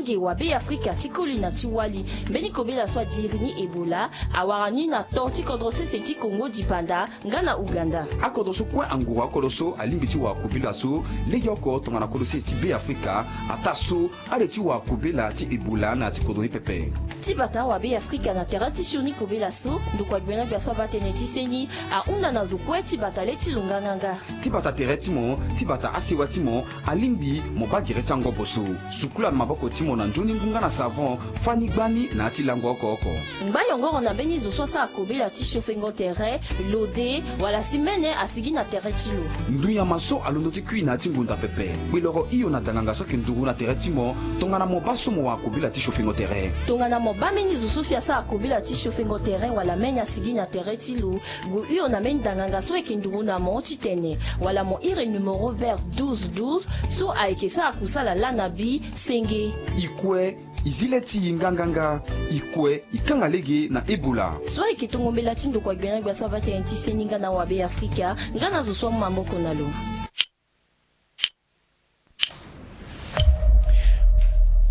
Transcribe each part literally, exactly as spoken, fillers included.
Lege wa Be Afrika ti koli na ti wali. Mbeni kobela so adiri ni Ebola awara ni na to ti kodro sese ti Kongo dipanda nga na Ouganda. Akodro so kue anguru akodro so alingbi ti wara kobela so legeoko tongana kodro sese ti Be Afrika ataa so ale ti wara kobela ti Ebola na ya ti kodro ni pepe. Ti bata wa Be Afrika na tere ti sioni kobela so ndokua gbena gbia so abaa tënë ti seni ahunda na zo kue ti bata le ti lo nganganga. Ti bata tere ti mo, ti bata asewa ti mo, alingbi mo baa gere ti angobo so. Sukula na maboko ti mo na nzoni ngu nga na savon, fani gbani na ya ti lango oko oko. Ngba yongoro na mbeni zo so asara kobela ti siofengo tere, lode, wala si mene asigi na tere ti lo. Ndunyama so alondo ti kui na ya ti ngonda pepe. Kpe loro hio na danganga so ayeke nduru na tere ti mo tongana mo baa so mo wara kobela ti siofengo tere. Tongana mo baa mbeni zo so si asara kobela ti siofengo tere wala mene asigi na tere ti lo, gue hio na mbeni danganga so ayeke nduru na mo titene wala mo iri numéro vert douze douze so ayeke sara kusala laa na bi senge. I kue, i zi le ti i nganganga. I kue, i kanga lege na Ebola. So ayeke tongo mbela ti ndokua gbena gbia so abaa tënë ti seni nga na wa Be Afrika nga na zo so amu maboko na lo.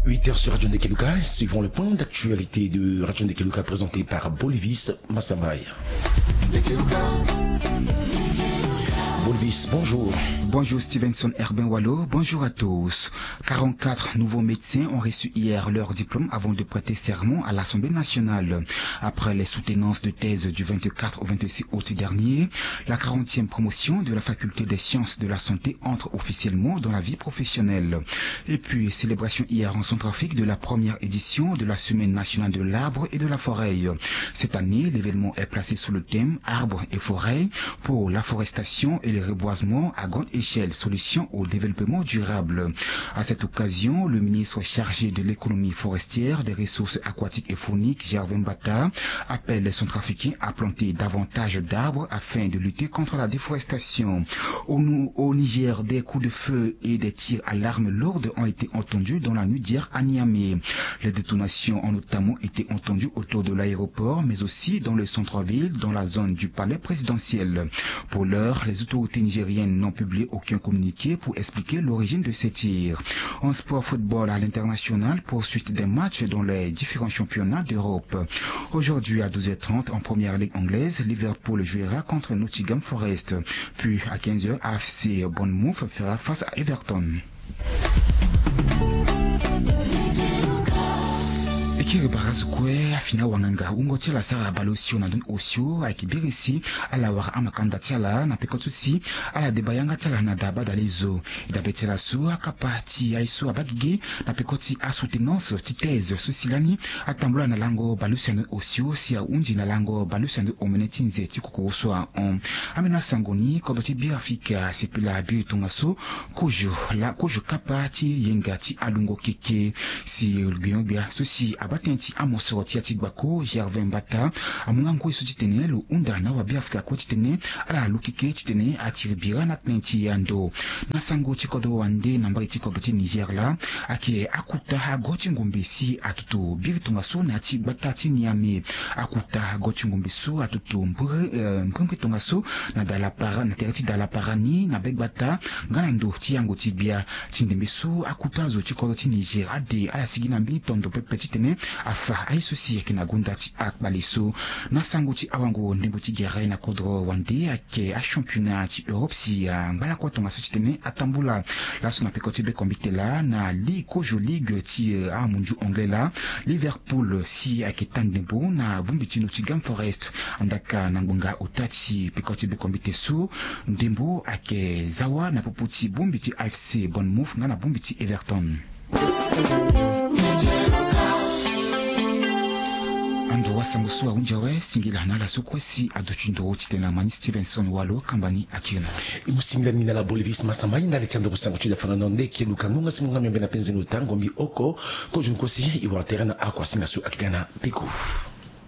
Huit heures sur Radio Ndekeluka, suivons le point d'actualité de Radio Ndekeluka présenté par Bolivis Massambaye. Bolivis, bonjour. Bonjour Stevenson Herbin Wallo, bonjour à tous. Quarante-quatre nouveaux médecins ont reçu hier leur diplôme avant de prêter serment à l'Assemblée nationale. Après les soutenances de thèse du vingt-quatre au vingt-six août dernier, la quarantième promotion de la faculté des sciences de la santé entre officiellement dans la vie professionnelle. Et puis, célébration hier en Centrafrique de la première édition de la Semaine nationale de l'arbre et de la forêt. Cette année, l'événement est placé sous le thème Arbres et forêts pour l'afforestation et le reboisement à grande échelle, solution au développement durable. À cette occasion, le ministre chargé de l'économie forestière, des ressources aquatiques et fauniques, Gervais Mbata, appelle les Centrafricains à planter davantage d'arbres afin de lutter contre la déforestation. Au, au Niger, des coups de feu et des tirs à l'arme lourde ont été entendus dans la nuit d'hier à Niamey. Les détonations ont notamment été entendues autour de l'aéroport, mais aussi dans le centre-ville, dans la zone du palais présidentiel. Pour l'heure, les autorités nigériennes n'ont publié aucun communiqué pour expliquer l'origine de ces tirs. En sport football à l'international, poursuite des matchs dans les différents championnats d'Europe. Aujourd'hui à douze heures trente en première ligue anglaise, Liverpool jouera contre Nottingham Forest. Puis à quinze heures, A F C Bournemouth fera face à Everton. E kiri bara zo kue afini awanganga wungo ti ala asara bale osio na ndoni osio ayeke biri si ala wara amakanda ti ala na peko ti si ala deba yanga ti ala na daa badale zo. E dabe ti ala so akapa ti aye so abaa gigi na peko ti asoutenance ti thèse so si lani atambula na lango bale use na ndoni osio si ahunzi na lango bale use na ndoni omene ti nze ti kokoro so ahon. Ambeni asango ni kodro ti Beafrika asepela biri tongaso kozo la kozo kapa ti yenga ti alungo keke. Si gbingo-gbia so si abaa tënë ti amosoro ti ya ti gbako Gervais Mbata amu nga ngoi so titene lo hunda na awabeafrika kue titene ala lu keke titene atiri bira na tënë ti ando. Na sango ti kodro wande na mbage ti kodro ti Niger laa, ayeke akuta ago ti ngombe si atutu biri tongaso na ya ti gbata ti Niamey. Akuta ago ti ngombe so atutu mbri mbri tongaso na dalapara na tere ti dalapara ni na be gbata nga na ndo ti yango ti gbia ti ndembe so akuta azo ti kodro ti Niger ade ala sigi na mbeni tondo pepe titene afa aye so si ayeke na gonda ti akpale so. Na sango ti awango ndembo ti gere na kodro wande ayeke achampionnat ti Europe si angba lakue tongaso titene atambula laso na peko ti bekombite laa na ligue kozo ligue ti amunzu anglais laa. Liverpool si ayeke taa ndembo na bongbi ti Nottingham Forest. Andaka na ngbonga ota ti peko ti bekombite so ndembo ayeke za wa na popo ti bongbi ti A F C Bournemouth nga na bongbi ti Everton. Ando wasango so ahunzi awe singila na ala so kue si aduti nduru titene na ma ni Stevenson Walo kamba ni akiri na ala. E mu singila mingi na ala Bolivis Massambaye ndali ti anduru sango ti dafa na ndo nde eke luka ngonga si mo nga miombe na penze na ota ngombi oko kozo nkosi e wara tere na akuasinga so ayeke ga na peko.